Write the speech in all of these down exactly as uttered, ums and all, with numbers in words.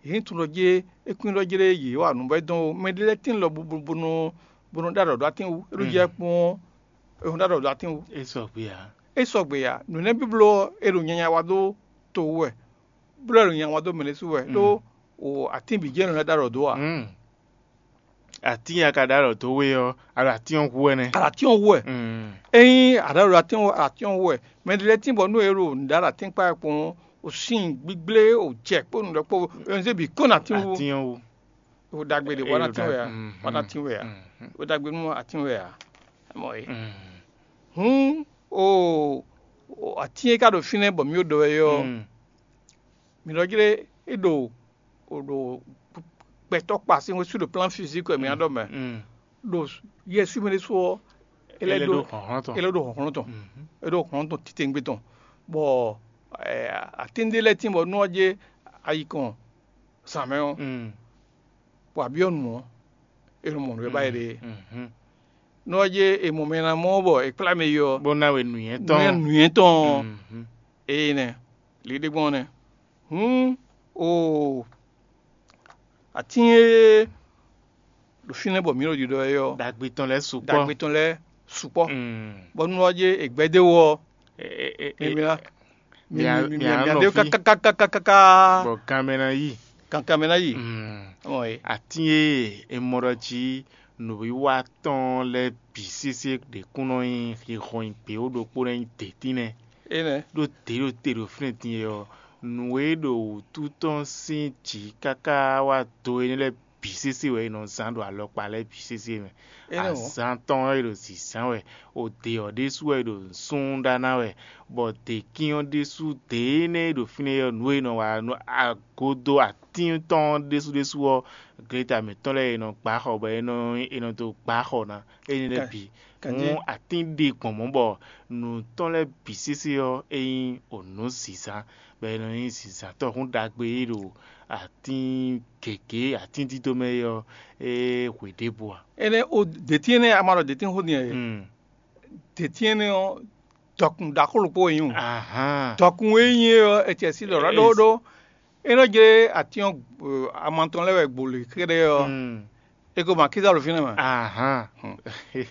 Yě nyí tunɖɔjé, é kún nyí ɖɔ jlé yě wa nǔ bɔ é dɔn ó. Mɛ ɖé lɛ́ɛ tín lɔ bo bo bo nɔ bo nɔ ɖó aɖɔ̌ ɖó atín wú. É ɖó jɛ kpɔ́n é nɔ ɖó aɖɔ̌ ɖó atín wú. É sɔgbe ǎ. É sɔgbe ǎ. Nǔ énɛ́ bǐ bló ɔ́, è ɖo nyanya wa dó to wú wɛ, bló è ɖo nyanya wa dó mɛ ɖésú wɛ, ɖó o atín bǐ jɛ́n è nɔ lɛ́ ɖó aɖɔ̌ dó ǎ. Mm. Atín e a ka ɖó aɖɔ̌ dó we ɔ́, a ɖo atín ɔ́ hu wɛ nɛ́. A ɖo atín ɔ́ hu wɛ. Mm. Ényí a ɖó aɖɔ̌ dó atín ɔ́, atín ɔ́ hu wɛ. Mɛ ɖé lɛ́ɛ tín bɔ nú è ɖo nǔ ɖó aɖɔ̌ atín kpá wɛ kpɔ́n, o sín gbígblé, o jɛ kpó nǔ ɖɔ kpó, è nɔ zé bǐ kɔn nú atín wú. Atín ɔ́ hu. O ɖagbe ɖě wá ná tín wɛ ǎ. Wá ná tín wɛ ǎ. O ɖagbe nú atín wɛ ǎ. Mɔ é. Hǔn o o atín e ka ɖo fínɛ́ bɔ mǐ ɖo ɖɔ wɛ é ɔ́, mǐ nɔ jlé é ɖo o ɖo gbɛtɔ́ kpa sín xwé sú ɖo plán fizík wɛ mǐ ná ɖɔ mɛ. Ɖo Yɛsu mɛ ɖésú ɔ́, é lɛ́ ɖó hlɔ̌nhlɔ́n tɔn. É lɛ́ ɖó hlɔ̌nhlɔ́n tɔn. É ɖó hlɔ̌nhlɔ́n tɔn titewungbe tɔn, bɔ atín ɖé lɛ́ɛ tín bɔ nú ɔ́ jɛ ayi kɔn zǎn mɛ ɔ́, bɔ a byɔ́ nǔ ɔ́, è nɔ mɔ nǔ e ba yě ɖe é. Nú ɔ́ jɛ è mɔ mɛ e ná mɔ ɔ́ bɔ è kplá mɛ yi ɔ́, bó ná we nǔnywɛ́ tɔn. Nǔnywɛ́ tɔn ɔ́, ée nɛ́, liɖé gbɔn ɔ́ nɛ́. Hǔn, oo, atín e ɖo fínɛ́ bɔ mǐ ɖo ɖiɖɔ wɛ é ɔ́, ɖagbe tɔn lɛ́ɛ sukpɔ́. Ɖagbe tɔn lɛ́ɛ sukpɔ́. Bɔ nú ɔ́ jɛ è gbɛdé wú ɔ́, mi mǐ ná mi mǐ ná nɔ dé fí kákákákáká. Bɔ ganmɛ ná yí. Kankan mɛ ná yi. Atín e è mɔ ɖɔ jí nǔwiwa tɔn lɛ́ɛ bǐ sésé ɖě kún nɔ nyí xixɔnyi gběwú ɖokpó nɛ́ nyí dě tínɛ́. Énɛ́. Ɖó dě ɖo te ɖo fínɛ́ din e ɔ́, nǔ e ɖo wǔtu tɔn sín jǐ káká wá do énɛ́ lɛ́ɛ bǐ sésé wɛ è nɔ zán ɖo alɔkpa lɛ́ɛ bǐ sésé mɛ. Azǎn tɔn ɔ́ è ɖo zǐzán wɛ, o dě ɔ́ ɖésú wɛ è ɖo nǔsúnnú ɖá ná wɛ, bɔ děkín ɔ́ ɖésú dě énɛ́ e ɖo fínɛ́ ɔ́, nǔ e è nɔ wa nú agodo atín tɔn ɔ́ ɖésú ɖésú ɔ́, gleta mǐtɔn lɛ́ɛ è nɔ gbǎ xɔ bɔ è nɔ è nɔ dó gbǎ xɔ ná. Énɛ́ lɛ́ɛ bǐ. Hǔn atín ɖe gbɔn mɔ̌ bɔ nǔ tɔn lɛ́ɛ bǐ sésé ɔ́, é nyí o nǔ zǐzán, bɔ è nɔ nyí zǐzántɔ́ hǔn ɖagbe e ɖo atín gěgé atín dídó mɛ é ɔ́, é hwe ɖěbǔ ǎ. Énɛ́ o dětín énɛ́ a ma ɖɔ dětín xó din ɛ? Dětín énɛ́ ɔ́, dɔkun ɖaxó ɖokpó wɛ nyí o. Dɔkun e nyí é ɔ́, è cɛ sí ɖɔ ɖó ɖó é nɔ jlé atín ɔ́, ama tɔn lɛ́ɛ wɛ gbo lě kɛ́ɖɛ́ ɔ́, é ko ma kíza ɖo fínɛ́ mɛ. Ahan.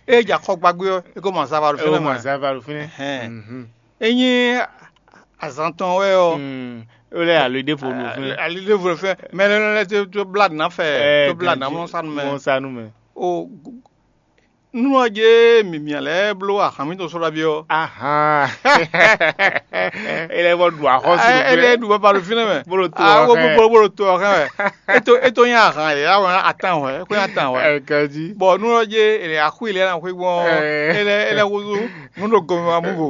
É jɛ axɔ gbagbe ɔ́, é ko ma zava ɖo fínɛ́ mɛ. Zava ɖo fínɛ́. Hɛn. É nyí azan tɔn wɛ ɔ́, ó lɛ́ ali ɖěvo ɖo fínɛ́. Ali ɖěvo ɖo fínɛ́. Mɛ lɛ́ɛ lɛ́ɛ tó blá nǎ fɛ, tó blá nǎ mɔ sánú mɛ. Mɔ sánú mɛ. O nú ɔ́ jɛ mǐmia lɛ́ɛ bló ahan mǐtɔn sɔ́ ɖaví ɔ́. Ahan. É lɛ́ vɔ ɖu axɔ́sú. É lɛ́ ɖu baba ɖo fínɛ́ mɛ. Bó ɖo to ɔ́ xɛn. Bó ɖo to ɔ́ xɛn wɛ. É tó é tó nyí ahan yě wá wɛn atán wɛ, é kó nyí atán wɛ. Ɛ ganjí. Bɔ nú ɔ́ jɛ é lɛ axú ilé ná xwé gbɔn. É lɛ é lɛ húzú nú ɖo gɔmɛ wá mú vo.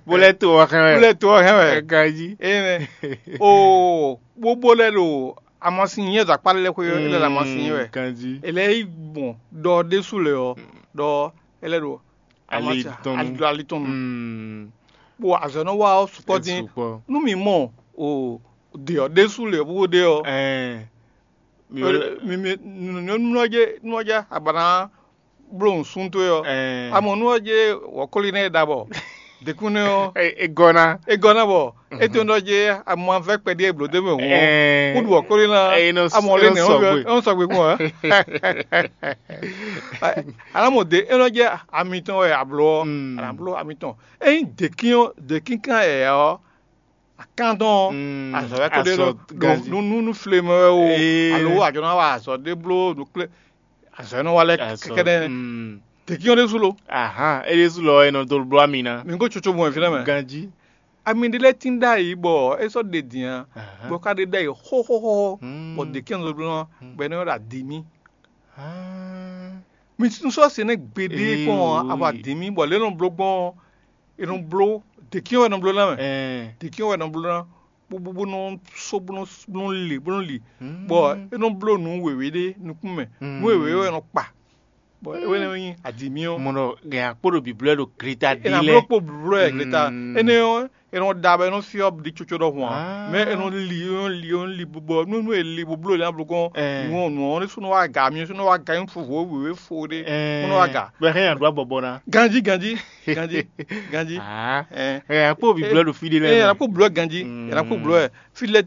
Bó lɛ́ to ɔ́ xɛn wɛ. Bó lɛ́ to ɔ́ xɛn wɛ. Ɛ ganjí. Énɛ́. O bóbó lɛ́ ɖo amasin nyɛ ɖo akpá lɛ́ xwé é lɛ́ ɖo amasin nyɛ wɛ. Ganjí. É lɛ́ yi gbɔn ɖɔ ɖésú lɛ ɔ́, ɖɔ é lɛ́ ɖo ali tɔn nu. Ali tɔn nu. Bɔ azɔ̌ nɔ wa ɔ́ sukpɔ́ dín. Nú mǐ mɔ o dě ɔ́ ɖésú lě ɔ́ bó ɖe ɔ́, mi mi nú ɔ́ jɛ nú ɔ́ jɛ abǎ ná bló nǔsúnnú towe ɔ́. Amɔ nú ɔ́ jɛ wɔ̌kɔ́lí nɛ́ ɖa bɔ dǐkúnnu ɔ́, é gɔ́ ná. É gɔ́ ná bɔ é to nɔ jɛ amavɛ́ kpɛɖí e blǒ dó mɛ hǔn ɔ́, kúɖu wɔ̌kɔ́lí ná. Amɔ lé nɛ ɔ́ sɔgbe kún ɔ́. Anamɔ de é nɔ jɛ amitɔn wɛ ablɔ ɔ́, ana bló amitɔn. Ényí dèkín ɔ́ dèkín kan yɛ̌yɛ́ ɔ́, akán tɔn ɔ́, azɔ̌ wɛ ko ɖe ɖɔ nú nú flemɛ wɛ o, alo ajɔ ná wa azɔ̌ ɖé bló nǔkplé azɔ̌ e nɔ wa lɛ́ɛ kɛkɛ́nɛ́. Dèkín ɔ́ ɖésú lo. Ahan, é ɖésú lɔ é nɔ dó bló ami ná. Mi kó tsotso mɔ fínɛ́ mɛ. Ganjí. Ami ɖé lɛ́ɛ tín ɖ'ayǐ bɔ é sɔ́ ɖe din ǎ, bɔ é ka ɖe ɖ'ayǐ xóxóxó, bɔ dèkín ɔ́ nɔ dó bló ná, bɔ é nɔ ylɔ́ ɖɔ adǐmí. Mi sɔ́ se nɛ́ gbeɖé kpɔ́n ɔ́, abɔ adǐmí, bɔ lě e nɔ bló gbɔn ɔ́, è nɔ bló dèkín wɛ è nɔ bló ná mɛ. Dèkín wɛ è nɔ bló ná, bó bó bó nɔ só bó nɔ bó nɔ li bó nɔ li, bɔ é nɔ bló nǔ wěwé ɖé nukún mɛ, nǔ wěwé wɛ è nɔ kpa, bɔ é wɛ nɔ nyí adǐmí ɔ́. Mɔ ɖɔ gɛn akpó ɖo bǐblɔ́ ɖo gleta ɖi lɛ. È nǎ bló kpó bló ɛ gleta. Énɛ́ ɔ́, è nɔ da bɔ é nɔ fyɔ́ ɖi coco ɖɔhun ǎ. Mɛ è nɔ li, è nɔ li, è nɔ li bɔ nú nú è li bó bló è nǎ bló gbɔn nǔ ɔ́, nǔ ɔ́ ɖésú nɔ wá aga, myɔ sú nɔ wá aga nyí fofo wěwé fo ɖé, bó nɔ wá aga. Bɔ é hɛn nyi aɖǔ abɔbɔ ná. Ganjí, ganjí, ganjí, ganjí. Ɛ, akpó bǐblɔ́ ɖo fí ɖé lɛ́ɛ. Ɛ, mɛ. Akpó blɔ́ ganjí, ɛ, akpó blɔ́ ɛ. Fí lɛ́ɛ tín